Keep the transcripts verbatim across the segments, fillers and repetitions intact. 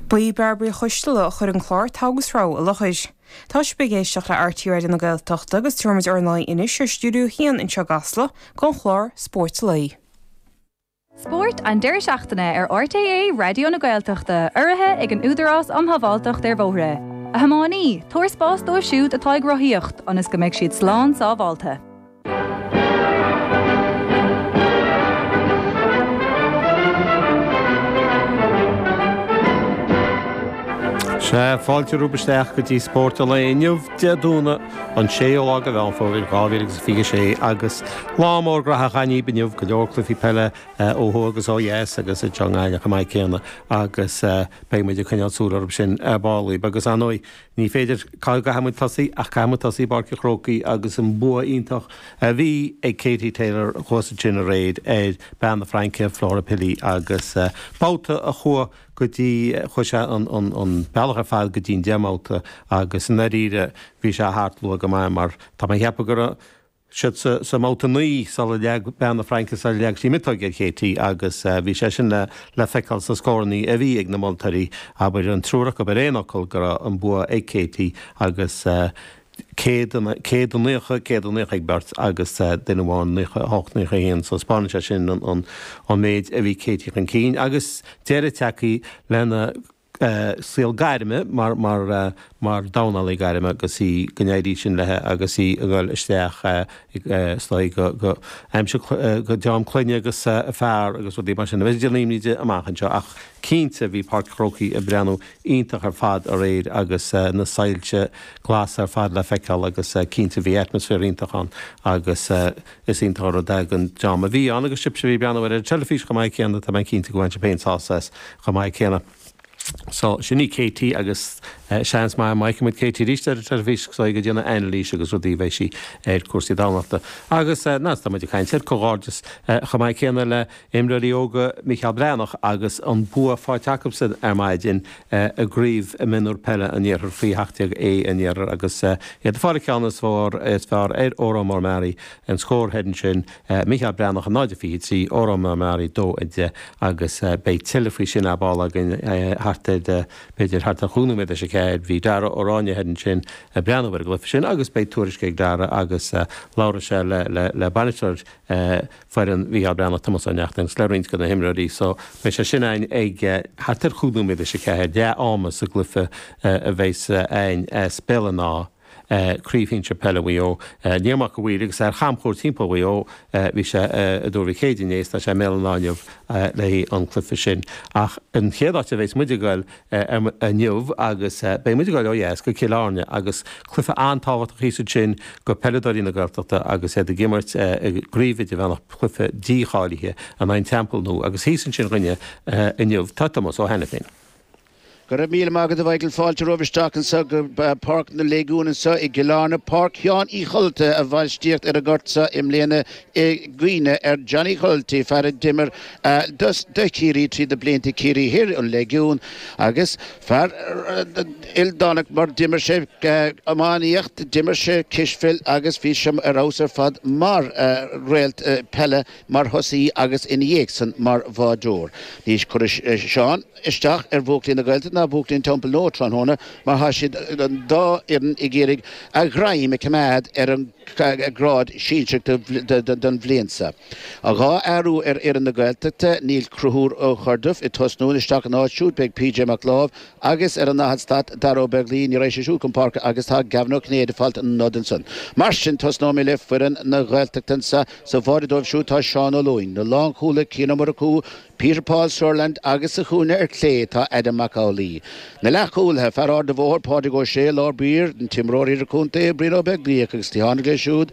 Ba í Bairbre Uí Choisteala a chuir an clár Togha agus Rogha i láthair. Tá sibh ag éisteacht le R T É Raidió na Gaeltachta agus tabharfaimid ár n-aghaidh anois ar Stiúideo a haon anseo i gCasla don chlár Spórt an Lae. Spórt an deireadh seachtaine ar R T É Raidió na Gaeltachta, urraithe ag an Údarás um Shábháilteacht ar Bhóithre. A thiománaí, tabhair spás dóibh siúd atá ag rothaíocht, ionas go mbeidh siad slán sábháilte. Sea, fáilte romhaibh isteach go dtí Spórt an Lae inniu, Dé Domhnaigh, an séú lá de Mheán Fómhair dhá mhíle agus fiche sé, agus lá mór graitheach againn inniu, go leor cluichí peile ó thuaidh agus ó dheas agus anseo i nGaillimh chomh maith céanna agus beidh muid ag coinneáil súil orthu sin ar ball. Agus ar ndóigh, ní féidir, cá gcaithfidh muid tosaí ach caithfidh muid tosaí i bPáirc an Chrócaigh agus an bua iontach a bhí ag Katie Taylor thuas ansin aréir ar bean na Fraince, Flora Pili, agus babhta a chuaigh go dtí, chuaigh sé an an bealach ar fad go dtí an deich mbabhta agus i ndáiríre bhí sé thart luath go maith mar tá mé ag ceapadh go raibh siad sa sa mbabhta naoi sula leag bean na Fraince sula leag sí miotóg ar Katie agus bhí sé sin le le feiceáil sna scórannaí a bhí ag na moltóirí, abair an triúr acu ar aon fhocal go raibh an bua ag Katie agus céad céad a naocha, céad a naocha ag beirt agus duine amháin naocha a hocht, naocha a haon, so 'spáineann sé sin an an méid a bhí Katie chun cinn agus deireadh tagtha lena saol gairme mar mar mar dornálaí gairme agus í go n-éirí sin léi agus í ag dul isteach is dóigh go go aimsir go dream clainne agus a fear agus rudaí mar sin. Beidh déanamh imní di amach anseo ach cinnte bhí Páirc an Chrócaigh ag breathnú iontach ar fad aréir agus na soilse glasa ar fad le feiceáil agus cinnte bhí atmaisféar iontach ann agus is iontach an rud é don dream a bhí ann agus sibhse a bhí ag breathnú ar an teilifís chomh maith céanna, tá mé cinnte go bhain sibh féin sásamh as chomh maith céanna. So, sin í Katie agus seans maith má fheicfidh muid Katie arís ar an teilifís is dóigh ag déanamh anailís agus rudaí a bheidh sí ar cúrsaí dornálaíochta. Agus ná tá muid ag caint ar comhghairdeas chomh maith céanna le imreoirí óga Micheál Breathnach agus an bua faighte acusan ar maidin i gCraobh Mionúr Peile an Iarthair faoi sheacht déag A an Iarthair agus iad ag fáil an ceann is fearr is fearr ar Órán Mór Meáraí an scór thoir ansin Micheál Breathnach a náid a fiche trí, Órán Mór Meáraí dó a deich agus beidh tuilleadh faoi sin ar ball againn thart ar b'fhéidir thart ar chúig nóiméad leis a ceathair. Bhí Dara Ó Ráinne thoir ansin ag breathnú ar an gcluiche sin agus beidh tuairisc ag Dara agus labhróidh sé le le le bainisteoir foireann Mhicheál Breathnach, Tomás Ó Neachtain, agus le roinnt de na himreoirí so beidh sé sin againn ag thart ar chúig nóiméad leis a ceathair, leath ama sa gcluiche a bheas againn as Béal an Átha. Craobh Shinsir Peile Mhaigh Eo. Liam Mac a' Mhaoir agus ar chamchuairt timpeall Mhaigh Eo bhí sé i dTuar Mhic Éadaigh inné is tá sé i mBéal an Átha inniu le haghaidh an cluiche sin. Ach an chéad áit a bheas muid ag goil inniu agus beidh muid ag goil ó dheas go Cill Airne agus cluiche an-tábhachtach thíos ansin go peileadóirí na Gaeltachta agus iad ag imirt i gCraobh Idirmheánach cluiche dícháilithe in aghaidh an Teampaill Nua agus thíos ansin dhúinne inniu tá Tomás Ó hAiniféin. Go raibh míle maith agat a Mhichael, fáilte romhaibh isteach anseo go Páirc na Léigiún anseo i gCill Airne, Páirc Sheáin Uí Cholta a bhainistíocht ar an ngort seo i mbliana i gcuimhne ar Johnny Cholty, fear a d'imir do Chiarraí trí na blianta, Ciarraí Thoir, an Léigiún, agus fear ildánach mar d'imir sé iománaíocht, d'imir sé cispheil agus bhí sé ar fheabhas ar fad mar réalt peile, mar thosaí agus ina dhiaidh san mar bháireoir. Ní chuirfidh Seán isteach ar bhuachaillí na Gaeltachta ná buachaillí an Teampaill Nua tráthnóna mar tá siad an dá fhoireann ag iarraidh a ghreim a choimeád ar an ngrád sinsearach don bhliain seo. Dhá athrú ar fhoireann na Gaeltachta, níl Conchúr Ó Corrduibh ag tosnú, isteach ina áit siúd beidh P J Mac Láimh agus ar an ndaichead slat Dara Ó Beaglaoi, ní raghaidh sé siúd chun páirce agus tá Gavin Ó Cinnéide ag fáilt an nod ansan. Mar sin tosnóidh mé le foireann na Gaeltachta anseo. Sa bháide dóibh siúd tá Seán Ó Lúing, na lánchúlaithe Cian Ó Murchú, Peter Paul Sirland agus sa chúinne ar clé tá Adam Mac Amhlaigh. Na leathchúlaithe, fear Ard a' Bhóthair, Pádraig Ó Sé, lár báire, an t-imreoir idirchontae, Brian Ó Beaglaoich agus cliathán clé siúd,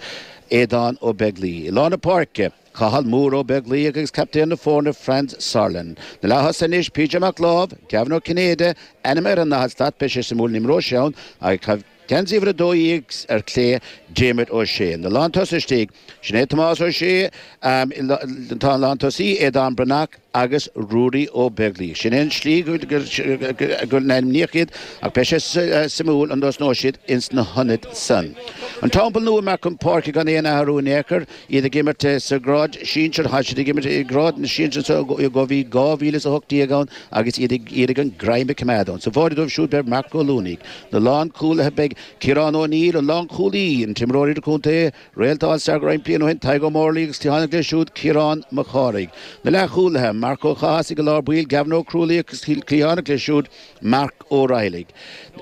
Aodán Ó Beaglaoich. I lár na páirce, Cathal Mór Ó Beaglaoich agus captaen na foirne, Franz Sarlin. Na leath-thosaithe anois, P J Mac Láimh, Gavin Ó Cinnéide, ainm ar an ndaichead slat, beidh sé suimiúil an imreoidh sé ann, agus Geansaí uimhir a dó dhéag ar clé, Diarmuid Ó Sé. Na lántosaithe istigh, sin é Tomás Ó Sé, tá an lántosaí, Aodán Breathnach agus Ruairí Ó Beaglaoich. Sin é an slí go n-ainmníodh iad ach beidh sé suimiúil an dtosnóidh siad ins na hionaid san. An Teampall Nua amach chun páirce gan aon athrú in aon chor, iad ag imirt sa ghrád sinsir, tá siad ag imirt i ngrád na sinsir anso ó bhí dhá mhíle is a hocht déag ann agus iad ag iarraidh an greim a choimeád ann. Sa bháide dóibh siúd beidh Marc Ó Luanaigh. Na lánchúlaithe beidh Ciarán Ó Neill, an lánchúlaí, an t-imreoir idirchontae, réalta All Star roinnt bliain ó shin, Tadhg Ó Mórlaigh agus cliathánach leis siúd, Ciarán Mac Cárthaigh. Na leathchúlaithe, Marc Ó Cathasaigh i lár baill, Gavin Ó Crualaoich agus cliathánach leis siúd, Marc Ó Raghallaigh.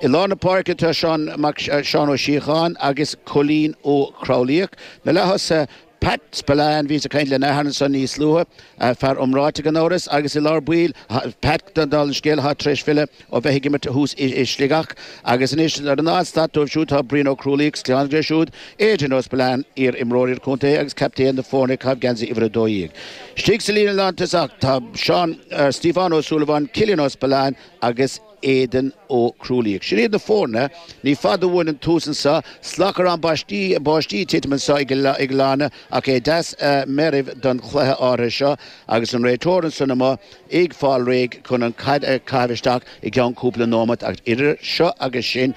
I lár na páirce tá Seán Mac Seán Ó Síocháin agus Cóilín Ó Creabhlaíoch. Na leath-thosaithe, Pat Spillane, bhíos ag caint lena athair ansan níos luaithe, fear iomráiteach gan amhras, agus i lár baill, Pat, dála an scéil, atá tar éis filleadh ó bheith ag imirt thuas i Sligeach. Agus anois ar an fhad-stad dóibh siúd tá Brian Ó Crualaoich agus cliathánach leis siúd, Adrian Ó Spillane, iar-imreoir idirchontae agus captaen na foirne ag caitheamh geansaí uimhir a dó dhéag. Istigh sa líne lántosach tá Seán, Stiofán Ó Súilleabháin, Cillian Ó Spillane agus Aidan Ó Crualaoich. Sin iad na foirne. Ní fada uainn an tús anseo. Slachrán báistí báistí ag titim anseo i gCill Airne ach é deas meirbh don chluiche áirithe seo agus an réiteoir ansan amuigh ag fáil réidh chun an chaid a chaitheamh isteach i gceann cúpla nóimeat ach idir seo agus sin,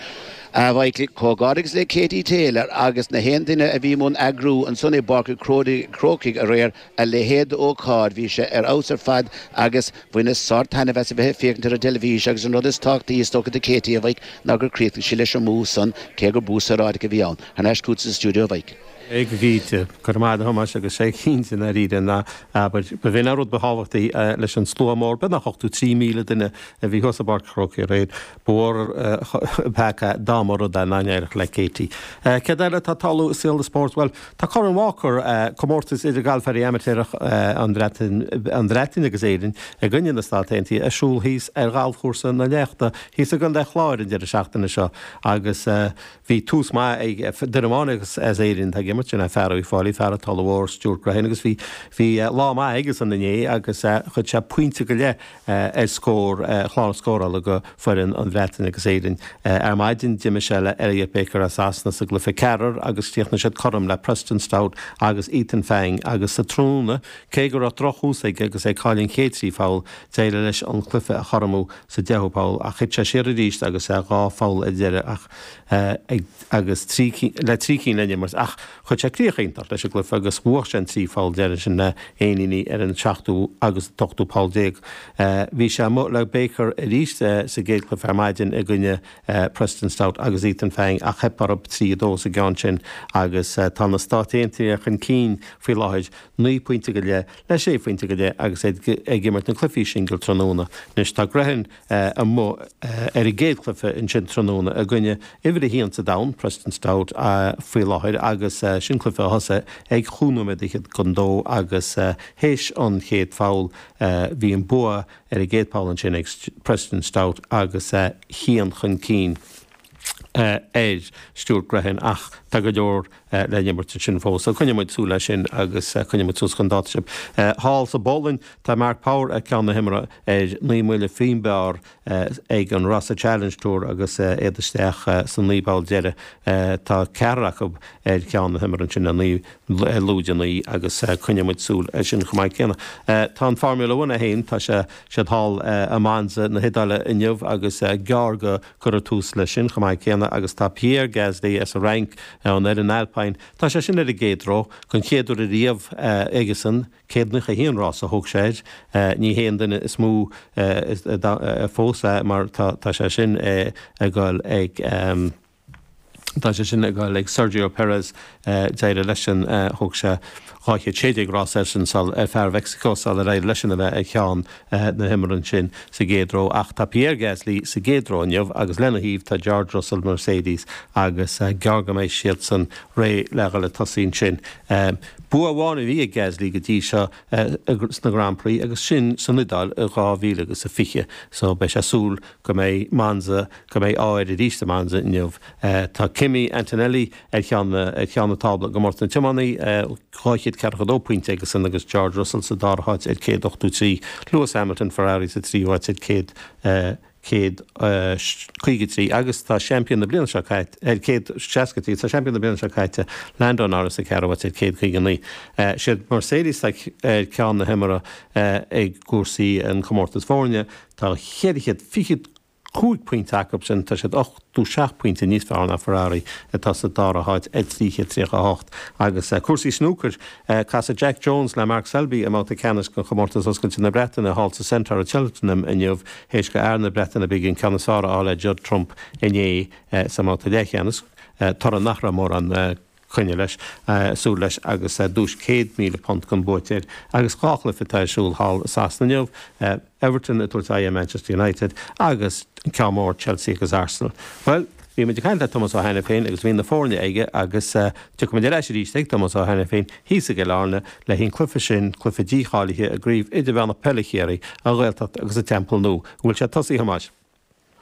a Mhichael, comhghairdeas le Katie Taylor agus na haon duine a bhí i mbun eagrú ansan i bPáirc an Chrócaigh aréir, a leithéid d'ócáid. Bhí sé ar fheabhas ar fad agus bhaineas sár-taitneamh as a bheith ag féachaint ar an dteilifís agus an rud is tábhachtaí is dócha do Katie, a Mhike, ná gur chríochnaigh sí leis an mbua san, cé gur bua saoráideach a bhí ann. Thar n-ais chugatsa sa stiúideo, a Mhike. Go cinnte, go raibh maith agat a Thomáis agus sé cinnte i ndáiríre ná, abair, ba bh'in an rud ba thábhachtaí leis an slua mór, beagnach ochtó trí míle duine a bhí thuas i bPáirc an Chrócaigh aréir, ba mhór an peaca dá mba rud é nach n-éireodh le Katie. Céard eile atá ag tarlú i saol an spóirt? Bhuel, tá Corn Walker, comórtas idir galfairí amaitéarach an Bhreatain, an Bhreatain agus Éirinn i gcoinne na Stát Aontaithe ar siúl thíos ar ghalfchúrsa na Leachta thíos i gContae Chláir an deireadh seachtaine seo agus bhí tús maith ag duine amháin as Éirinn atá ag imirt, sin é fear Uíbh Fhailí, fear an Tulaigh Mhóir, Stuart Grehan agus bhí bhí lá maith aigesan inné agus chuir sé pointe go leith ar scór chlár scórála go foireann an Bhreatain agus Éirinn. Ar maidin d'imir sé le Elliot Baker as Sasana sa gcluiche ceathrar agus chríochnaigh siad cothrom le Preston Stout agus Ethan Fang agus sa tráthnóna, cé go raibh drochthús aige agus é ag cailleadh an chéad trí pholl, d'éirigh leis an cluiche a chothromú sa deichiú poll ach thit sé siar arís agus é dhá pholl ar deireadh ach ag agus trí le trí cinn le n-imirt ach chuir sé críoch iontach leis an gcluiche agus bhuaigh sé an trí pholl deiridh sin le éiníní ar an seachtú agus an t-ochtú poll déag. Bhí sé amuigh le Baker arís sa gcéad chluiche ar maidin i gcoinne Preston Stout agus Ethan Fang ach theip orthu trí a dó sa gceann sin agus tá na Stáit Aontaithe chun cinn faoi láthair naoi pointe go leith le sé phointe go leith agus iad ag imirt na cluichí singil tráthnóna. Anois tá Grehan amuigh ar an gcéad chluiche ansin tráthnóna i gcoinne uimhir a haon sa domhan, Preston Stout, faoi láthair agus sin cluiche a thosaigh ag chúig nóiméad fhichead don dó agus théis an chéad pholl bhí an bua ar an gcéad pholl ansin ag Preston Stout agus a haon chun cinn ar Stuart Grehan ach tá go leor le n-imirt ansin fós. So coinneoidh muid súil leis sin agus coinneoidh muid suas chun dáta sibh. Thall sa bPolainn tá Mark Power ar ceann na himeartha ar naoi mbuille faoin bpar ag an Rossa Challenge Tour agus iad isteach sa naoi bpoll deiridh. Tá ceathrar acu ar cheann na himeartha ansin le naoi lúide naoi agus coinneoidh muid súil air sin chomh maith céanna. Tá an Formula One é féin, tá sé siad thall i Monza na hIodáile inniu agus gearr go gcuirfear tús leis sin chomh maith céanna agus tá Pierre Gasly as an Fhrainc an fhoireann Alpine, tá sé sin ar an gcéad ró den chéad uair ariamh aigesan, céad nócha a haon rás a thóg sé air. Ní hé an duine is mó fós é mar tá sé sin ag dul ag. Tá sé sin ag dul ag Sergio Perez, d'éirigh leisean, thóg sé dhá chéad sé déag rás airsean sul, ar fear Mheicsiceo sular éirigh leisean a bheith ar cheann na himeartha ansin sa gcéad ró. Ach tá Pierre Gasly sa gcéad ró inniu agus lena thaobh tá George Russell Mercedes agus gearr go mbeidh siadsan réidh le dhul ag tosaí ansin. Bua amháin a bhí ag Gasly go dtí seo sna Grand Prix agus sin san Iodáil i dhá mhíle agus a fiche so beidh sé ag súil go mbeidh Monza, go mbeidh ádh air arís i Monza inniu. Tá Kimi Antonelli ar cheann ar cheann na tábla i gcomórtas na tiománaí, dhá chéad ceathracha dó pointe aigesan agus George Russell sa dara háit ar céad ochtó trí. Lewis Hamilton, Ferrari sa tríú háit ar céad céad caoga trí agus tá seaimpín na bliana seo caite ar céad seasca trí, tá seaimpín na bliana seo caite Lando Norris sa cheathrú háit ar céad caoga naoi. Siad Mercedes ar ceann na himeartha ag cúrsaí an chomórtas foirne, tá ceithre chéad fiche cúig pointe acu sin, tá siad ochtó seacht pointe níos fearr ná Ferrari atá sa dara háit ar trí chéad tríocha a hocht. Agus cúrsaí snúcair, casfaidh Jack Jones le Mark Selby i mbabhta ceannais den chomórtas Oscailte na Breataine thall sa Centaur i Cheltenham inniu, théis do fhear na Breataine Bige an ceann is fearr a fháil ar Judd Trump inné sa mbabhta leathcheannais, toradh nach raibh mórán coinne leis, súil leis agus duais céad míle punt den buaiteoir agus dhá chluiche atá ar siúl thall i Sasana inniu, Everton ag tabhairt aghaidh ar Manchester United agus an ceann mór Chelsea agus Arsenal. Bhuel, bhí muid ag caint le Tomás Ó hAiniféin agus bhí na foirne aige agus tiocfaidh muid ar ais arís ag Tomás Ó hAiniféin thíos i gCill Airne le haghaidh an cluiche sin, cluiche dícháilithe i gCraobh Idirmheánach Peile Chiarraí, an Ghaeltacht agus an Teampall Nua. An bhfuil sé tosaithe, a Thomáis?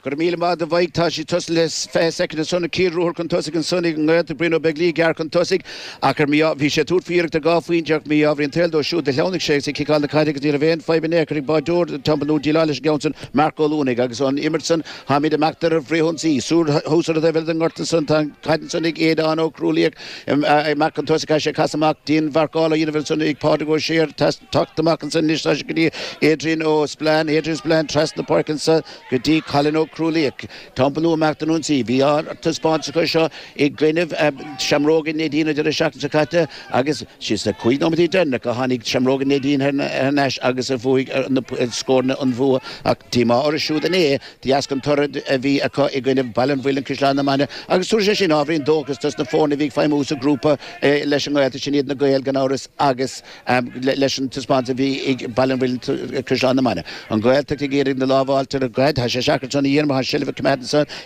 Go raibh míle maith agat a Mhaidhc. Tá sí tosaithe le fiche soicind ansan. An chéad ruathar chun tosaigh ansan ag an nGaeltacht. Brian Ó Beaglaoich gearr chun tosaigh ach ar mí-ádh bhí sé ag tabhairt faoi iarracht ar dhá phointe ach mí-ádh an tsaoil dó siúd do shleamhnaigh sé agus ag ciceáil na caide agus ní raibh aon fadhb in aon chor ag báideoir Teampall Nua déileáil leis an gceann san Marc Ó Luanaigh agus an imirt san táimid ag imeacht ar an bhfrithionsaí. Soir thuas ar an taobh eile den ngort ansan tá an chaid ansan ag Aodán Ó Crualaoich ag imeacht chun tosaigh caithfidh sé casadh amach dianmharcáil á dhéanamh ansan ag Pádraig Ó Sé teacht amach ansan anois tá sé go dtí Adrian Ó Spillane Adrian Spillane trasna na páirce ansan go dtí Colin Ó Crualaoich. Teampall Nua ag imeacht den ionsaí. Bhí ard-taispeántas acu seo i gcoinnibh Seamróga Neidín an deireadh seachtaine seo caite agus sna cúig nóiméadaí deireanacha tháinig Seamróga Neidín thar n-ais agus a bhuaigh na scóranna an bhua ach díomá orthu siúd inné de dheasca an toradh a bhí acu i gcoinnibh Baile an Mhuilinn Caisleán na Mainge agus tabharfaidh sé sin ábhairín dóchais dos na foirne a bhí ag feidhmiú sa ghrúpa leis an nGaeltacht sin iad na Gaeil gan amhras agus leis an taispeántas a bhí ag Baile an Mhuilinn Caisleán na Mainge. An Ghaeltacht ag iarraidh na lámha a fháilt ar an gcaid. Tá sé seacair ansan a dhéanamh, tá seilbh a coimeád ansan